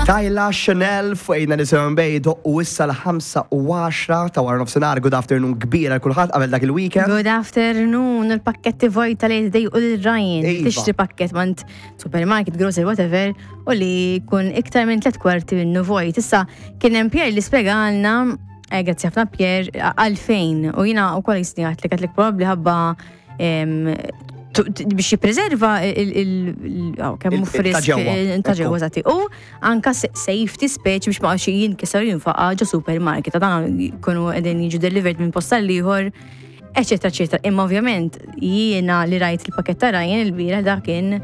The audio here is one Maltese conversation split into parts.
Tyla Chanel fuq 897 Bay doqqu issa l-5 u 10 ta' wara nofsinhar. Good afternoon kbira kulħadd qabel dak il-weekend. Good afternoon, il-pakketti vojta li jdejqu lil Ryan. Iva. Tixtri pakket mant supermarket, grocery, whatever, u li jkun iktar minn tlet kwarti minnu vojt. Issa kien hemm Pierre li spjegalna, grazzi ħafna Pierre, għalfejn. U jiena wkoll jisni għatlek għatlek probabbli ħabba biex jippreserva kemm hu frisk Ta' ġewwa. Ta' ġewwa, eżatti. U anka safety speċi biex ma xi jinkiser jinfaqa ġo supermarket. Ta' dan jkunu qegħdin jiġu delivered minn post għal ieħor, eċetera, eċetera. Imma ovvjament jiena li rajt il-pakett ta' Ryan il-bieraħ dak kien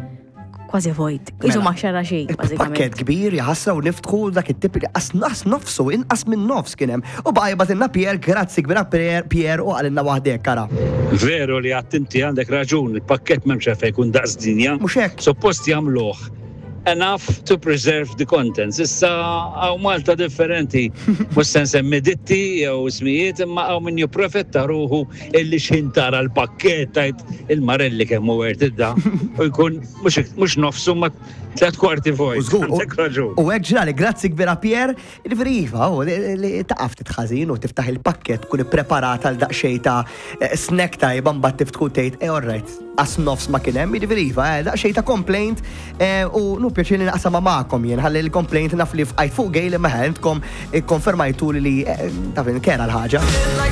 kważi vojt. Isu Mela. ma xara xejn, bażikament. Pakket kbir jaħasra u niftħu dak it-tip li qas nofsu, inqas minn nofs kien hemm. U baqa' jibgħatilna Pierre, grazzi kbira Pierre, Pierre u qalilna waħdek kara. Veru li għadt inti għandek raġun, il-pakket m'hemmx għalfejn jkun daqs dinja. Mhux hekk. Suppost jagħmluh enough to preserve the contents. Issa hawn Malta differenti. Mhux se nsemmi ditti jew ismijiet imma hawn min jipprofetta ruħu illi x'ħin tara l-pakket tajt il-marelli kemm hu worth it da. U jkun mhux nofsu ma 3/4 vojt. U żgur, Għandek raġun. U hekk ġrali, grazzi kbira Pierre, jiġifieri iva, u li taqaf titħażin u tiftaħ il-pakket tkun ippreparata għal daqsxejn ta' snack tajba mbagħad tiftħu tgħid, all right, qas nofs ma kien hemm, jiġifieri iva, daqsxejn ta' complaint u nu pjaċir li naqsama magħkom jien, ħalli l-complaint naf li fqajt fuq gej li ma intkom ikkonfermajtu li taf kera l-ħaġa.